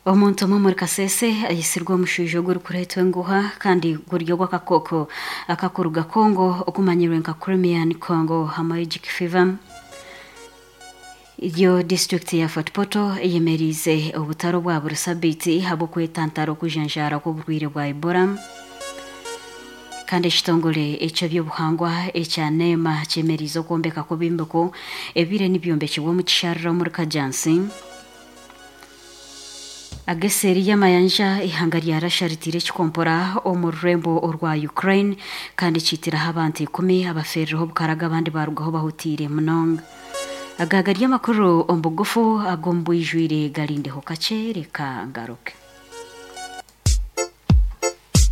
Omuntu omwe omuri Kasese aitsirwe omushaija ogurikureetwa enguha kandi guri ogw'akakooko akakuruga Congo okumanyirwe nka Crimean Congo Hemorrhagic Fever. Yo disiturikiti ya Fort Portal eyemeriize obutare obwa buri sabiiti ahabw'okwetantara okujanjaara kw'oburwaire bwa Ebola. Kandi ekitongore eky'eby'obuhangwa ekya NEMA kyemeriize okwombeka kw'ebyombeko ebibaire nibyombekibwa omu kisharara omuri Kajjansi. Ag'eseeri y'amayanja, eihanga rya Russia riteire ekikompora omu rurembo orwa Ukraine kandi kiitiraho abantu ikumi abafeerireho obukarago abandi baarugaho bahutiire munonga. Aga gari amakuru omu bugufu ag'omu bwijwire garindeho kakye reka ngaruke.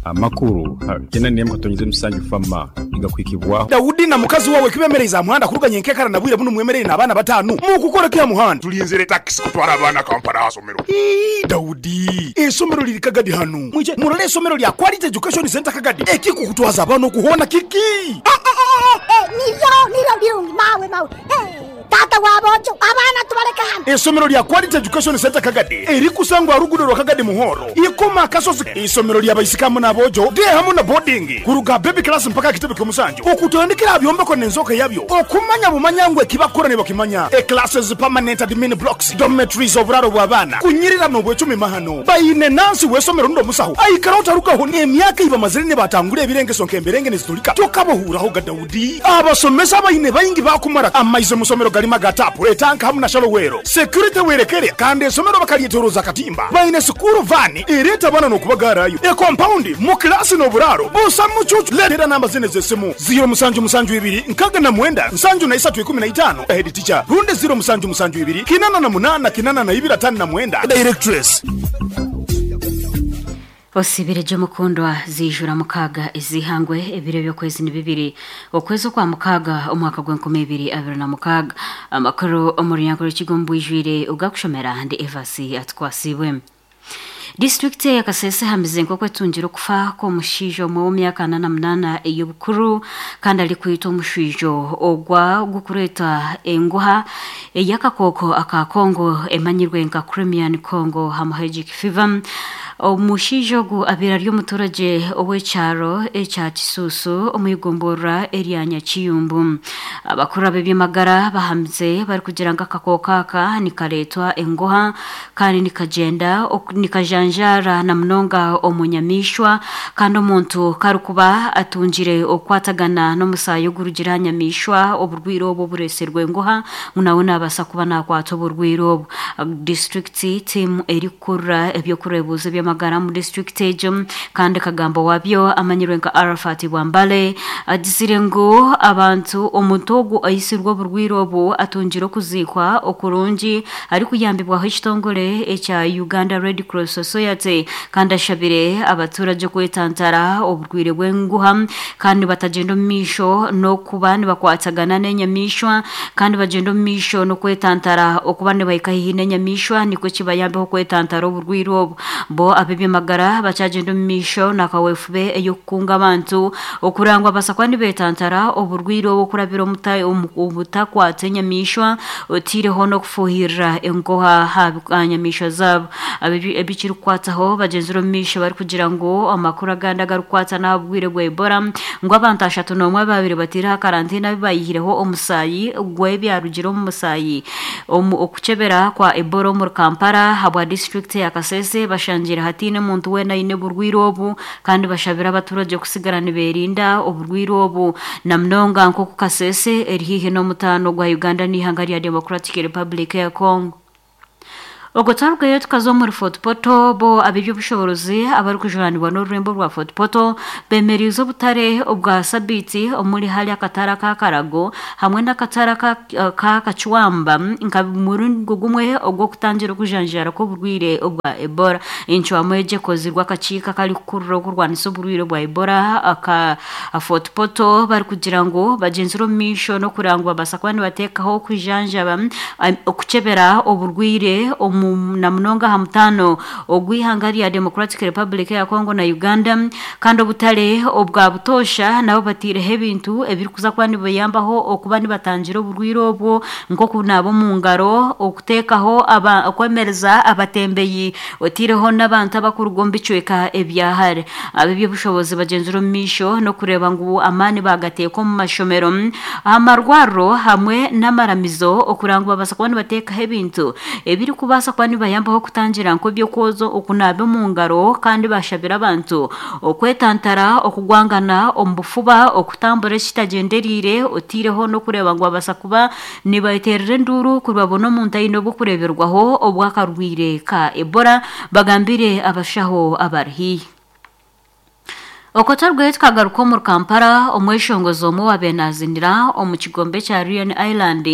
Amakuru gena n'emwe katonyize musanju fama nigakuhikibwaho. Daudi na mukazi wawe kibemereize aha muhanda kuruga nyenkekara na bwire bunu mwemereire n'abaana batanu mukukora ki aha muhanda? Tulinzire takisi kutwara abaana Kampala aha somero. Ii, Daudi, eisomero liri Kagadi hanu. Mwije murole eisomero lya Quality Education Centre Kagadi. Ekikukutwaza abaana oku hoona kiki? Eh, eh, eh, eh, nibyo, nibyo birungi, mawe, mawe. Eh. Taata wa boojo, abaana tubaleke hanu. Eisomero lya Quality Education Centre Kagadi erikusangwa aha ruguudo rwa Kagadi Muhoro, Ikoma Akasozi. Eisomero lya baisiki hamu n'aboojo, day hamu na boarding, kuruga aha baby class mpaka aha kitebe ky'omusanju. Okutandikira aha byombeko n'enzooka yabyo, okumanya bumanya ngu eki bakukora nibakimanya. E Classes, permanent admin blocks, dormitories, oburaaro bw'abaana, kunyirira n'obwecumi mahano. Baine nansi w'eisomero rundi omusaho aikara otarugaho n'emyaka ei bamazire nibatangura ebirengeso nk'emberenge niziturika tokabahuuraho ga Daudi. Abasomesa abaine baingi baakumara amaizi omu somero garimu aga taapu, etanka hamu na shalowero. Security werekere kandi esomero bakaryetoroza akatimba. Baine sikuuru vaani ereeta abaana n'okubagaarayo. Ekompaundi, mu kilaasi n'oburaaro busa mucuucu. Leetera namba zinu ez'esimu, ziiro musanju musanju ibiri nkaga na mwenda nsanju na isatu ikumi na itaano, Head teacher, rundi ziiro musanju musanju ibiri kinana na munaana kinana na ibiri atano na mwenda, Directress. Osibire gye omukundwa ziijura mukaaga ez'eihangwe ebiro eby'okwezi ni bibiri okwezi okwa mukaaga omwaka gw'enkumi ibiri 26. Amakuru omu runyankore rukiga omu bwijwire ogakushomera ndi Evas Atukwasiibwe. Disiturikiti eya Kasese ehamize nk'oku etungire okufa kw'omushaija omwe w'emyaka 48 ey'obukuru kandi arikwitwa omushwijo ogwa gukureetwa enguha ey'akakooko aka Congo emanyirwe nka Crimean Congo Hemorrhagic Fever. Omushaija ogu abaire ari omuturagye ow'ekyaro ekya Kisuusu omu igomborora erya Nyakiyumbu. Abakuru ab'eby'amagara bahamize barikugira ngu akakooko aka nikareetwa engoha kandi nikagyenda nikajanjaara na munonga omu nyamaishwa kandi omuntu ku arikuba atungire okukwatagana n'omusaayi ogurugire aha nyamaishwa oburwaire obu obureetsirwe engoha ngu nawe naabaasa kuba naakwata oburwaire obu. Disiturikiti tiimu erikukurira eby'okureebuuza eby'amagara omu disiturikiti egyo kandi kagamba waabyo amanyirwe nka Arafat Bwambale agizire ngu abantu omuntu ogu aitsirwe oburwaire obu atungire okuziikwa okurungi arikuyambibwaho ekitongore ekya Uganda Red Cross Society kandi ashabire abaturagye okwetantara oburwaire bw'enguha kandi batagyenda omu maisho n'okuba nibakwatagana n'enyamaishwa Kandi bagyenda omu maisho n'okwetantara okuba nibahika haihi n'enyamaishwa nikwo kibayambeho kwetantara oburwaire obu. Bo ab'eby'amagara bakyagyenda omu maisho na kaweefube ey'okukunga abantu okureba ngu babaasa kuba nibetantara oburwaire obu okurabira omu butakwata enyamaishwa oteireho n'okufuuhirira enkoha aha nyamaishwa zaabo. Ebi kirikukwataho bagyenzire omu maisho barikugira ngu amakuru agandi agarikukwata n'aha burwaire bwa Ebola ngu abantu 31 abaabaire bataire aha karantiini abu baayihireho omusaayi gw'ebyarugire omu musaayi omu okukyebera kwa Ebola omuri Kampala ahabwa disiturikiti eya Kasese bashangire hataine muntu weena aine oburwaire obu kandi bashabire abaturagye kusigara nibeerinda oburwaire obu na munonga nk'oku Kasese eri haihi n'omutaano gwa Uganda n'eihanga rya Democratic Republic eya Congo. Obwo twarugayo tukaza omuri Fort Portal, bo ab'eby'obushoboorozi abarikujunaanibwa n'orurembo rwa Fort Portal beemereize obutare obwa sabiiti omuri hare akatare aka Karago hamwe n'akatare aka Kachwamba nka muringo gumwe ogw'okutangira okujanjaara kw'oburwaire obwa Ebola. Encwamu egi ekozirwe akakiiko akarikukurira okurwanisa oburwaire bwa Ebola aka Fort Portal barikugira ngu bagyenzire omu maisho n'okureba ngu babaasa kuba nibateekaho okujanjaba, okukyebera oburwaire omu. na munonga aha mutaano ogw'eihanga rya Democratic Republic ya Congo na Uganda. Kandi obutare obwa butoosha nabo bataireho ebintu ebirikuza kuba nibayambaho okuba nibatangira oburwaire obwo, nk'okunaaba omu ngaro, okuteekaho okwemereza abatembeyi, otaireho n'abantu abarikuruga omu bicweka ebya hare. Ab'eby'obushobozi bagyenzire omu maisho n'okureeba ngu amaani baagateeka omu mashomero, aha marwariro hamwe n'amaramizo okureba ngu babaasa kuba nibateekaho ebintu ebirikubaasa kuba nibibayambaho kutangira nk'eby'okwoza, okunaaba omu ngaro kandi bashabire abantu okwetantara okugwangana omu bufuba, okutambura ekitagyendereire otaireho n'okureeba ngu babaasa kuba nibateerera enduuru kuri babona omuntu aine obw'okureeberwaho obw'akarwaire ka Ebola, bagambire abashaho abari haihi. Okwo twarugaiyo tukagaruka omuri Kampala, omweshongozi omwe owaabaire naazinira omu kigombe kya Leone Island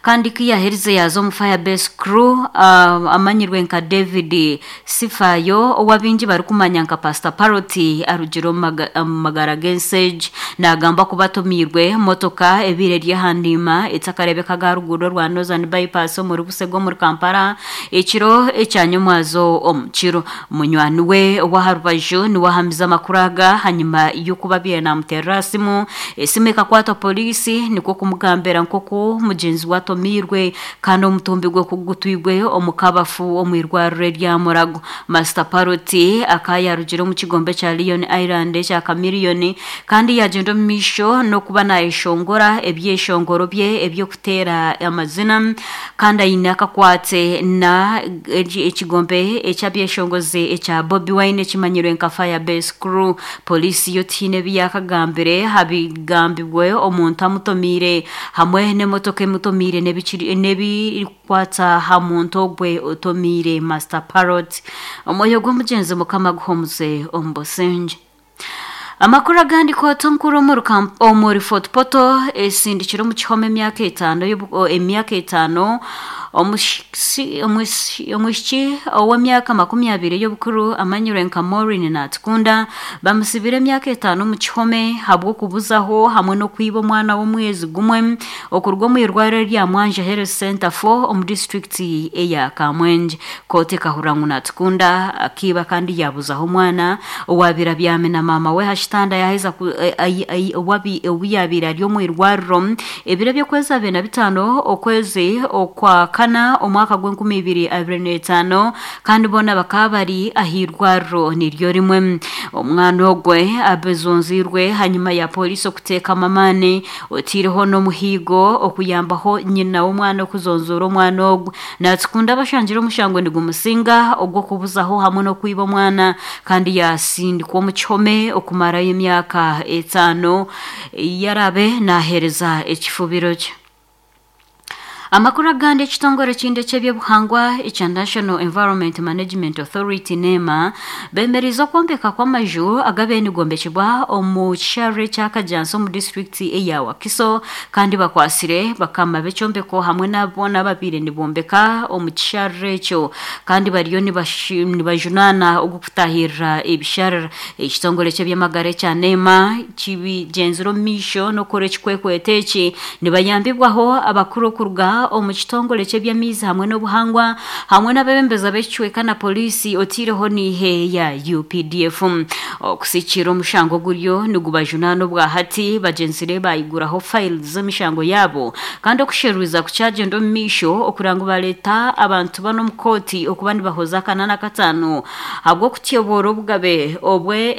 kandi ku yaaherize yaaza omu Firebase Crew amanyirwe nka David Sifayo ou abaingi barikumanya nka Pastor Parrot arugire omu magara g'ensi egi. Naagambwa kuba atomiirwe motoka ebaire eri aha ndiima etakareebekaga aha ruguudo rwa Northern Bypass omuri Busega omuri Kampala ekiro ekya nyomwazo omu kiro. Munywani we ow'aha rubaju niwe ahamize amakuru aga hanyima y'okuba abaire naamuteerera aha simu. Esimu ekakwatwa poriisi nikwo kumugambira nk'oku mugyenzi we atomiirwe kandi omutumbi gwe ku gutwirwe omu kabafu omu irwariro erya Murago. Master Parrot akaba yaarugire omu kigombe kya Leone Island ekya Chameleone kandi yaagyenda omu maisho n'okuba naayeshongora ebyeshongoro bye eby'okuteera amazina. Kandi aine akakwate na ekigombe eky'abyeshongozi ekya Bobi Wine ekimanyirwe nka Firebase Crew. Poliisi yo tihaine ebi yaakagambire aha bigambirwe omuntu amutomiire hamwe n'emotoka emutomiire n'ebirikukwata aha muntu ogwe otomiire Master Parrot. Omwoyo gw'omugyenzi Mukama aguhumuze omu busingye. Amakuru agandi Kooti enkuru omuri Fort Portal esindikire omu kihome emyaka etaano emyaka etaano omwishiki ow'emyaka 20 y'obukuru amanyirwe nka Maureen Natukunda bamusibire emyaka etaano omu kihome ahabw'okubuzaho hamwe n'okwiba omwana w'omwezi gumwe okuruga omu irwariro erya Mwanja Health Centre 4 omu disiturikiti eya Kamwengye. Kooti ekahurira ngu Natukunda akaiba kandi yaabuzaho omwana owaabaire abyami na maama we aha kitanda yaaheza obu yaabaire ari omu irwariro ebiro eby'okwezi 25 okwezi okwa kana omwaka gw'enkumi ibiri abiri n'etaano kandi boona bakaba bari aha irwariro niryo rimwe. Omwana ogwe abezonziirwe ahanyima ya pooriisi okuteekamu amaani otaireho n'omuhiigo okuyambaho nyina w'omwana okuzonzoora omwana ogwe. Natukunda abashangire omushango nigumusinga ogw'okubuzaho hamwe n'okwiba omwana kandi yaasindikwa omu kihome okumarayo emyaka etaano ei araabe naaheereza ekifubiro kye. Amakuru agandi Ekitongore ekindi eky'eby'obuhangwa ekya National Environment Management Authority, NEMA, bemereize okwombeka kw'amaju agabaire nigombekibwa omu kisharara ekya Kajjansi omu disiturikiti eya Wakiso kandi bakwatsire bakama b'ekyombeko hamwe n'abo boona ababaire nibombeka omu kisharara ekyo kandi bariyo nibajunaana ogw'okutaahirira ebisharara. Ekitongore ky'eby'amagara ekya NEMA kibigyenzire omu maisho n'okukora ekikwekweto eki nibayambibwaho abakuru okuruga omu kitongore ky'eby'amaizi hamwe n'obuhangwa hamwe n'abeebembezi ab'ekicweka na pooriisi otaireho n'eihe ya UPDF. Okusikiira omushango oguriyo nigubajunaana obwahati bagyenzire bayiguraho files z'emishango yaabo kandi okusheruriza kukyagyenda omu maisho okureba ngu bareeta abantu banu omu kooti okuba nibahoza akana n'akataano Ahabw'okutyoboora obugabe obwe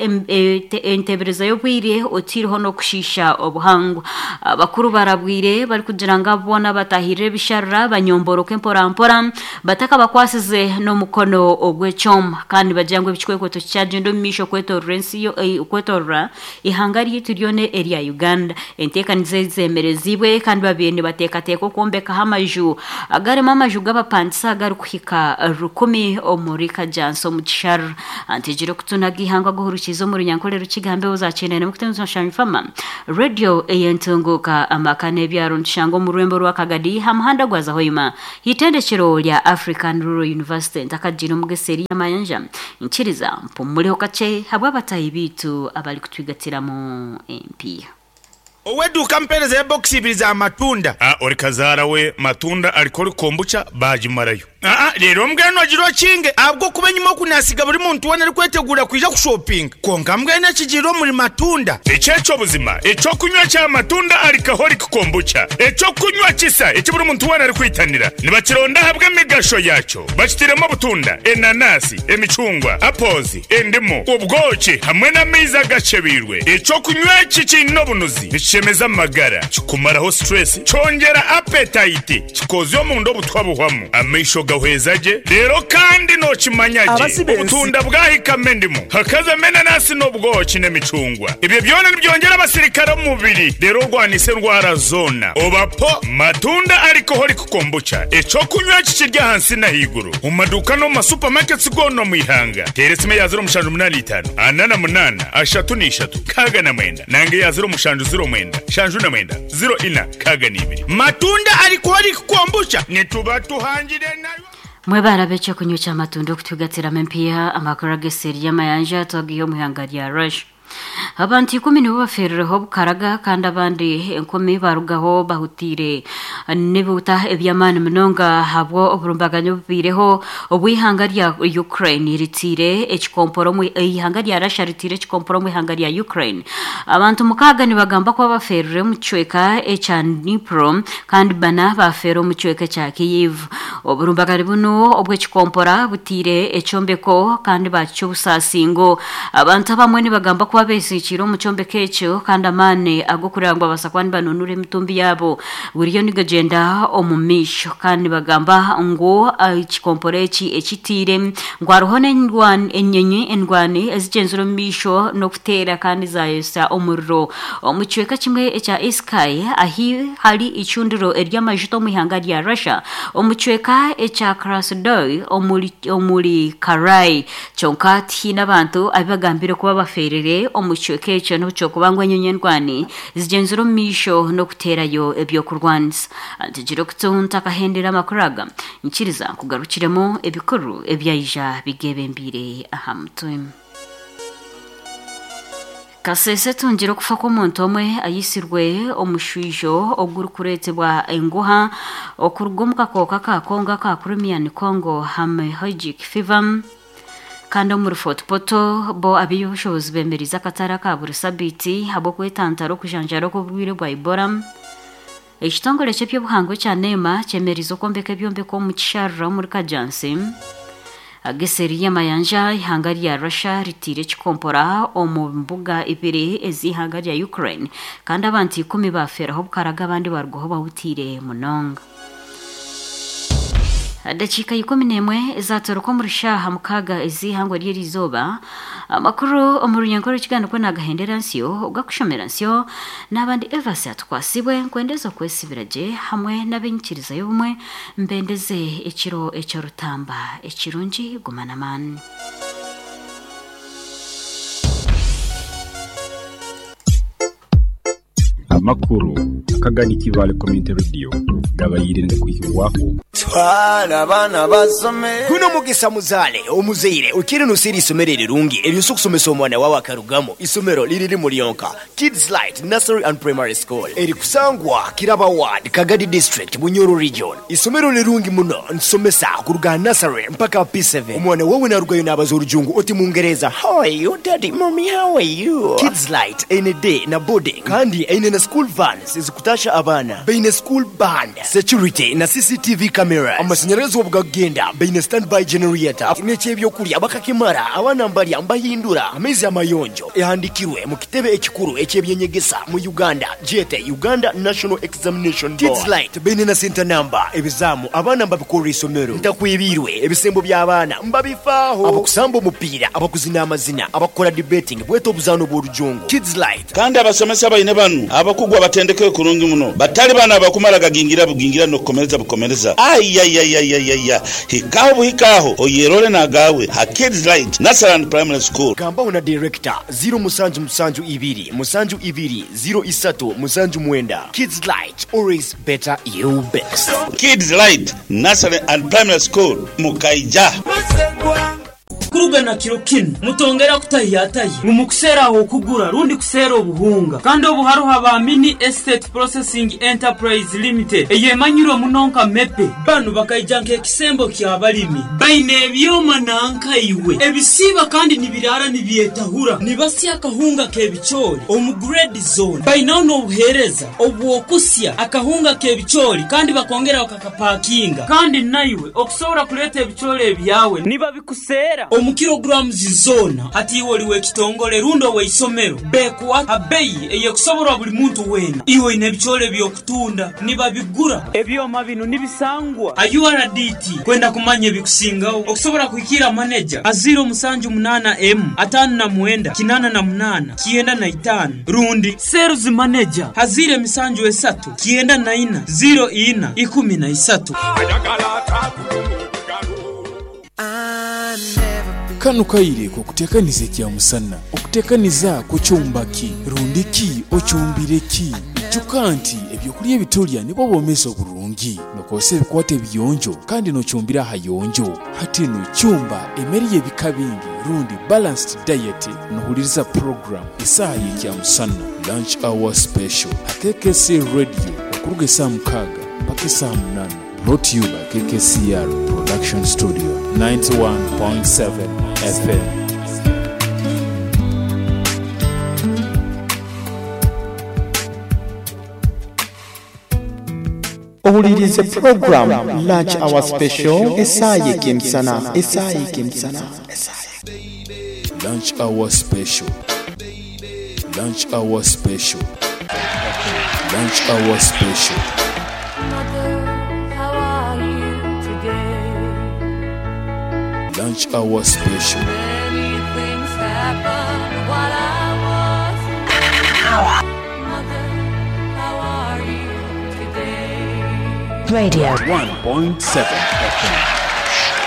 enteebereza y'obwire otaireho n'okushiisha obuhangwa. Abakuru barabwire barikugira ngu abo boona abatahirire ebisharara banyomboroke mporampora batakabakwasize n'omukono ogw'ekyoma. Kandi nibagira ngu ebikikwekweto kikyagyenda omu maisho kwetorora ensi kwetorora eihanga ryaitu ryona erya Uganda. Enteekaniza ezi zeemereziibwe kandi babaire nibateekateeka okwombekaho amaju agarimu amaju g'abapangisa agarikuhika rukumi omuri Kajjansi omu Kisharara. Antegire okutu n'agaihangwe aguhurukiize omu Runyankore Rukiga aha mbeho za Kyenda Nemukutendwa Shanyu Fama Radio ey'entunguuka amaka n'ebyaro nitushanga omu rurembo rwa Kagadi aha muhanda gwaza Hoima Eitendekero rya African Rural University ntakagiire omu g'eseeri y'amayanja Nkiriza mpumureho kakye habw'abataahi baitu abarikutwigatiramu empiiha. Ow'eduuka ampeereza ebokisi ibiri za matunda. A Ori kazaara we matunda arikora kombucha baagimarayo. Aa, reero mbwenu ogire okinge, ahabw'okuba enyima oku naasiga buri muntu weena arikweteguura kwija kushopinga. Kwonka mbwenu ekigiire omuri matunda. Eki eky'obuzima, eky'okunywa kya matunda alcoholic kombucha, eky'okunywa kisa eki buri muntu weena arikwitanira. Nibakironda ahabw'emigasho yaakyo. Bakitairemu obutunda, enanasi, emicungwa, apples, endimu, obwoki hamwe n'amaizi agakyebeirwe. Eky'okunywa eki kiine obunuzi, nikishemeza amagara, kikumaraho stress, kyongyera appetite, Kikoozya omunda obutwa buhwamu, amaisho gahweza gye, reero kandi nookimanya gye Abasi b'ensi. obutunda bwahikamu endimu, hakazamu enanasi n'obwoki n'emicungwa. Ebyo byona nibyongyera abasirikare omu mubiri reero orwanise endwara zoona. Oba po Matunda Alcoholic Kombucha, eky'okunywa eki kiri ahansi n'ahaiguru omu maduuka n'omu ma supermarkets goona omu ihanga. Teera esimu eya 0785 48 33 69 nanga eya 0709 79 04 62. Matunda Alcoholic Kombucha nituba tuhangire nayo. Mwebare ab'ekyokunywa ky'amatunda okutugatsiramu empiiha amakuru ag'eseeri y'amayanja twagiiha omu ihanga rya Russia. Abantu ikumi nibo bafeerireho obukaraga kandi abandi enkumi barugaho bahutiire n'ebihuta eby'amaani munonga ahabwa oburumbaganyi obubaireho obu eihanga rya Ukraine ritiire ekikompora omu eihanga rya Russia ritiire ekikompora omu ihanga rya Ukraine. Abantu mukaaga nibagamba kuba bafeerire omu kicweka ekya Dnipro kandi bana baafeera omu kicweka ekya Kyiv. Oburumbagari bunu obw'ekikompora butiire ekyombeko kandi baakicwa obusaasi ngu abantu abamwe nibagamba kuba beesiikiire omu kyombeko ekyo kandi amaani ag'okureeba ngu babaasa kuba nibanunura emitumbi yaabo buriyo nigagyenda omu maisho kandi nibagamba ngu ekikompora eki ekitiire ngu hariho n'enyonyi endwani ezigyenzire omu maisho n'okuteera kandi zaayotsya omuriro omu kicweka kimwe ekya Iskai ahi hari eicundiro ery'amajuta omu ihanga rya Russia omu kicweka ekya Krasnodar omuri omuri Karai. Kyonka tihaine abantu abu bagambire kuba bafeerire omu kicweka ekyo n'obu ky'okuba ngu enyonyi endwani zigyenzire omu maisho n'okuteerayo eby'okurwanisa. Ntegyire okutu ntakahendera amakuru aga. Nkiriza nkugarukiremu ebikuru ebyaija bigeebembeire aha mutwe. Kasese etungire okufa kw'omuntu omwe aitsirwe omushwijo ogurikureetebwa enguha okuruga omu kakooko aka Congo aka Crimean Congo Hemorrhagic Fever. Kandi omuri Fort Portal bo ab'eby'obushobozi bemereize akatare aka buri sabiiti ahabw'okwetantara okujanjaara okw'oburwaire bwa Ebola. Ekitongore ky'eby'obuhangwa ekya NEMA kyemereize okwombeka ebyombeko omu Kisharura omuri Kajjansi. Aga eseeri y'amayanja, eihanga rya Russia riteire ekikompora omu mbuga ibiri ez'eihanga rya Ukraine kandi abantu ikumi baafeeraho obukarago abandi barugaho bahutiire munonga. Dakiika 11 ezatoroka omuri shaaha mukaaga ez'eihangwe ry'eriizooba, amakuru omu runyankore rw'ekigambo nikwo naagahendera nsyo, ogakushomera nsyo, naaba ndi Evasi Atukwatsibwe, nkwendeze okwesibira gye hamwe n'ab'enyikiriza y'obumwe, mbendeze ekiro eky'orutamba ekirungi, guma n'amaani. Amakuru akagani Kibaale Community Radio gabaire nigakwihibwaho. Twala abaana basome. Guno mugisa muzaale omuzaire okiire noseera eisomero erirungi eryosa okusomesa omwana wawe akarugamu. Isomero liri limu lyonka, Kids Light Nursery and Primary School erikusangwa Kiraba Ward, Kagadi District, Bunyoro Region. Isomero lirungi muno nitusomesa kuruga aha nursery mpaka P7. Omwana wawe narugayo nabaza orujungu oti mungereza How are you daddy, mummy how are you? Kids Light eine day na boarding kandi eine na school vans ezikutasha abaana. Baine school band, security na CCTV cameras. Amashanyarazi obu gakugenda baine standby generator n'eky'ebyokurya bakakimara abaana mbarya mbahindura amaizi amayonjo. Ehandikirwe mu kitebe ekikuru eky'ebyenyegesa mu Uganda gyete Uganda National Examination Board. Kids Light baine na center number, ebizaamu abaana mbabikorera isomero, ntakwebiirwe, ebisembo by'abaana mbabifaaho, abakusamba omupiira, abakuzina amazina, abakukora debating bwete obuzaano bw'orujungu. Kids Light. Kandi abasomesa baine banu abakugu abatendekeirwe kurungi muno, batali bano abakumara gagingira bugingira n'okukomereza bukomereza. Aiaiaiaiaia! Hikaho buhika aho oyerole n'agaawe ha Kids Light Nursery and Primary School. Gambaho na Director, ziro musanju musanju ibiri musanju ibiri ziro isatu musanju mwenda. Kids Light, always better you best. Kids Light Nursery and Primary School, Mukaija. Kuruga na kiro kinu, mutongera kutahiyatahya ngu mukuseera ah'okugura rundi kuseera obuhunga. Kandi obu haroho aba Mini Estate Processing Enterprise Limited eyemanyirwe muno nka MEPE. Banu bakaija nk'ekisembo ky'abalimi. Baine ebyoma nanka iwe ebisiiba kandi nibiraara nibyetahura. Nibasya akahunga k'ebicoori omu grade zoona. Bainaho n'obuheereza obw'okusya akahunga k'ebicoori kandi bakongera bakakapakinga. Kandi naiwe okusobora kuleeta ebicoori ebyawe nibabikuseera omu kilograms zoona. Hati iwe oli w'ekitongole rundi ow'eisomero, bekuha ha beyi ey'ekusoborwa buli muntu weena. Iwe oine ebicoori eby'okutunda, nibabigura. Ebyoma binu nibisangwa ha URDT. Kwenda kumanya ebikusingaho, okusobora kuhikiira maneja ha 078 59 88 95 rundi Sales Manager ha 073 94 04 13. Kanu kaire k'okuteekaniza ekyamusana. Okuteekaniza kucumba ki? Rundi ki ocumbire ki? Ijuka nti ebyokulya ebitulya nibwo bwomeezi oburungi. Nokozesa ebikwato ebiyonjo kandi nocumbira ahayonjo. Hati nu cumba emere y'ebika bingi rundi balanced diet nohuliriza program Esaaha y'Ekyamusana, Lunch Hour Special, ha KKC Radio okuruga esaaha mukaaga mpaka esaaha munaana. Brought to you by KKCR Production Studio, 91.7 FM. Owuliriize pulogulaamu Lunch Hour Special esaaha y'ekemisana, esaaha y'ekemisana, esaaha. Lunch Hour Special, Lunch Hour Special, Lunch Hour Special. Lunch Hour Special. Radio. 1.7 FM.